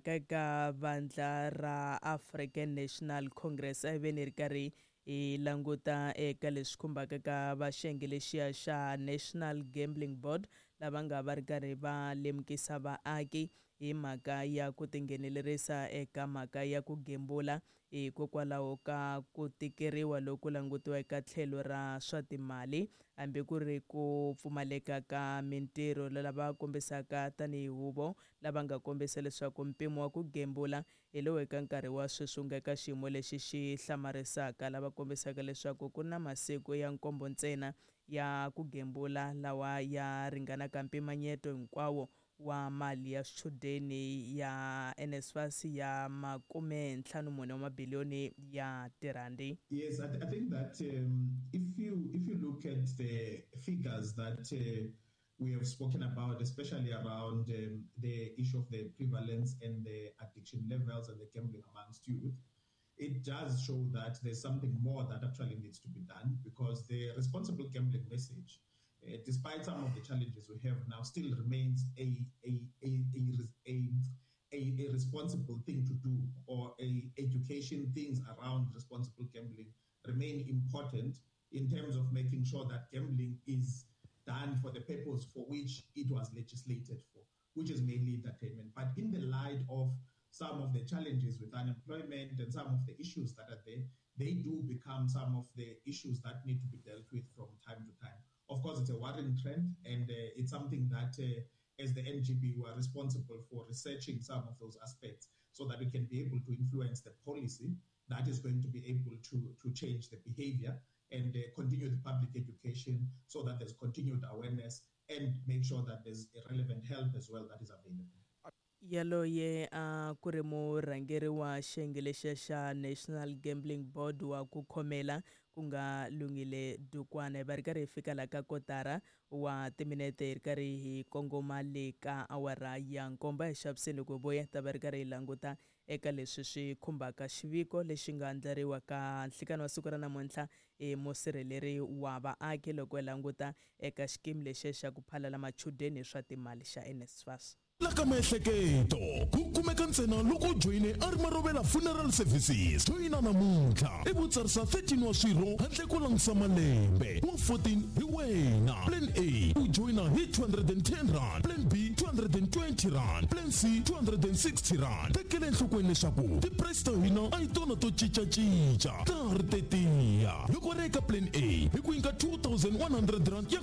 Ka eka vandla ra African National Congress, a hi veni hi ri karhi hi languta eka leswi khumbaka ka va xiyenge lexiya xa National Gambling Board, lava nga va ri karhi va lemukisa vaaki hi mhaka ya ku tinghenelerisa eka mhaka ya ku gembula hikokwalaho ka ku tikeriwa loku langutiwa eka tlhelo ra swa timali, hambi ku ri ku pfumaleka ka mintirho. Lava kombisaka tanihi huvo lava nga kombisa leswaku mpimo wa ku gembula hi lowu eka nkarhi wa sweswi wu nga eka xiyimo lexi xi hlamarisaka, lava kombisaka leswaku ku na masiku ya nkombo ntsena ya ku gembula lawa ya ringanaka mpimanyeto hinkwawo wa mali ya swichudeni ya NSFAS ya 54 wa mabiliyoni ya tirhandi. Yes, I think that if you look at the figures that we have spoken about, especially around the issue of the prevalence and the addiction levels and the gambling amongst youth, it does show that there's something more that actually needs to be done, because the responsible gambling message, despite some of the challenges we have now, still remains a responsible thing to do, or a education things around responsible gambling remain important in terms of making sure that gambling is done for the purpose for which it was legislated for, which is mainly entertainment. But in the light of some of the challenges with unemployment and some of the issues that are there, they do become some of the issues that need to be dealt with from time to time. Of course, it's a worrying trend, and it's something that, as the NGB, we are responsible for researching some of those aspects so that we can be able to influence the policy that is going to be able to change the behavior and continue the public education so that there's continued awareness and make sure that there's relevant help as well that is available. Yaloye a ku ri murhangeri wa xiyenge lexiya xa National Gambling Board wa ku khomela, ku nga Lungile Dukwana. Hi va ri karhi hi fika la ka kotara wa timinete, hi ri karhi hi kongoma le ka awara ya 7. Hi xaviseni loko hi vuya ta va ri karhi hi languta eka leswi swi khumbaka xiviko lexi nga andlariwa ka nhlikani wa siku ra namuntlha hi musirheleri wa vaaki, loko hi languta eka xikimi lexiya xa ku phalala machudeni hi swa timali xa NSFAS. La ka miehleketo ku kumeka ntsena loko u joyine a ri Marovela Funeral Services. Joyina namuntlha i vutsarisa 13 wa swirho handle ko langutisa malembe wa 14 hi wena. Plan A, u joyina hi R210; plan B, R220; plan C, R260. Tekela enhlokweni leswaku ti-price ta hina a hi tona to cincacinca, ta ha ri tetiya. Loko ri eka plan A, hi ku nyika R2100 ya.